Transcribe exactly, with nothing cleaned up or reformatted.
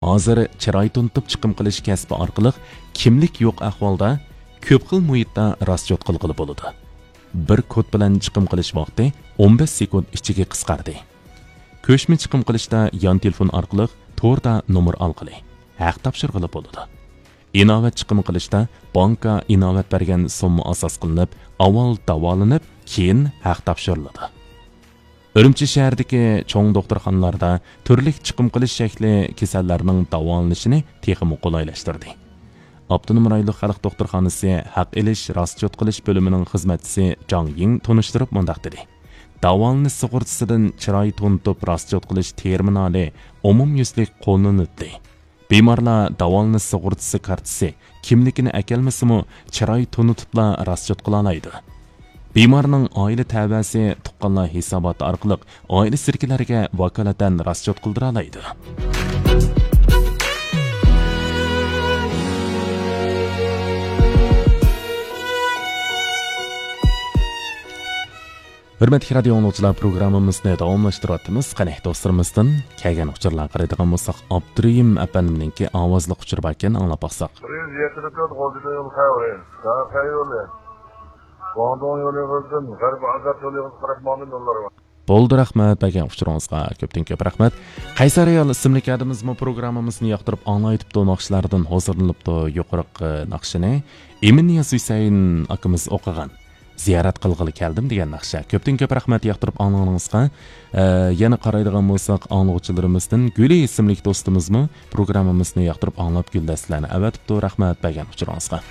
ھازىر چىراي تونۇتۇپ چىقىم قىلىش كەسپى ئارقىلىق كىملىك يوق ئەھۋالدا كۆپ خىل مۇھىتتا راسچوت قىلغىلى بولىدۇ. بىر كود بىلەن چىقىم قىلىش ۋاقتى ئون بەش سېكۇنت ئىچىگە قىسقاردى. كۆچمە چىقىم قىلىشتا يان تېلېفون ئارقىلىق توردا نومۇر ئالغىلى، ھەق تاپشۇرغىلى بولىدۇ. ئىناۋەت چىقىم قىلىشتا بانكا ئىناۋەت بەرگەن سومما ئاساس قىلىنىپ، ئاۋۋال داۋالىنىپ، كېيىن ھەق تاپشۇرۇلىدۇ. ئۈرۈمچى شەھىرىدىكى چوڭ دوختۇرخانىلاردا تۈرلۈك چىقىم قىلىش شەكلى كېسەللەرنىڭ داۋالىنىشىنى تېخىمۇ قولايلاشتۇردى. ئاپتونوم رايونلۇق خەلق دوختۇرخانىسى ھەق ئېلىش، راسچوت قىلىش بۆلۈمىنىڭ خىزمەتچىسى جاڭ يىڭ تونۇشتۇرۇپ مۇنداق دېدى: داۋالىنىش سۇغۇرتىسىدىن چىراي تونۇتۇپ راسچوت قىلىش تېرمىنالى ئومۇميۈزلۈك قوللىنىلدى. بىمارلار داۋالىنىش سۇغۇرتىسى كارتىسى، كىملىكىنى ئەكەلمىسىمۇ، چىراي تونۇتۇپلا راسچوت قىلالايدۇ. بىمارنىڭ ئائىلە تەۋەسى تۇغقانلار ھېساباتى ئارقىلىق ئائىلىسىدىكىلەرگە ۋاكالىتەن راسچوت قىلدۇرالايدۇ. ھۆرمەتلىك رادىيو ئاڭلىغۇچىلار، پروگراممىمىزنى داۋاملاشتۇرۇۋاتىمىز. قېنى، دوستلىرىمىزدىن كەلگەن ئۇچۇرلارغا قارايدىغان بولساق، ئابدۇرېھىم ئەپەندىمنىڭكى ئاۋازلىق ئۇچۇرى باركەن، ئاڭلاپ باقساق. بىر يۈز يەتتە تۆت غۇلجىدا يول خەۋىرى. سەھەر يولى. گۇاڭدۇڭ يولى بولسۇن، غەربىي ئازاد يولىغا قاراپ ماڭىدۇ يوللار بار. بولدى، رەھمەت، بەرگەن ئۇچۇرىڭىزغا كۆپتىن كۆپ رەھمەت. قەيسەر ئايال ئىسىملىك ئادىمىمىزمۇ پروگراممىمىزنى ياقتۇرۇپ ئاڭلايتىپتۇ، ناخشىلاردىن ھۇزۇرلىنىپتۇ. يۇقىرىقى ناخشىنى ئىمىننىياز ھۈسەيىن ئاكىمىز ئوقۇغان. زىيارەت قىلغىلى كەلدىم دېگەن ناخشا. كۆپتىن كۆپ رەھمەت ياقتۇرۇپ ئاڭلىغىنىڭىزغا. ئە، يەنە قارايدىغان بولساق، ئاڭلىغۇچىلىرىمىزدىن گۈلى ئىسىملىك دوستىمىزمۇ پروگراممىمىزنى ياقتۇرۇپ ئاڭلاپ گۈلدەستىلەرنى ئەۋەتىپتۇ. رەھمەت بەرگەن ئۇچۇرىڭىزغا.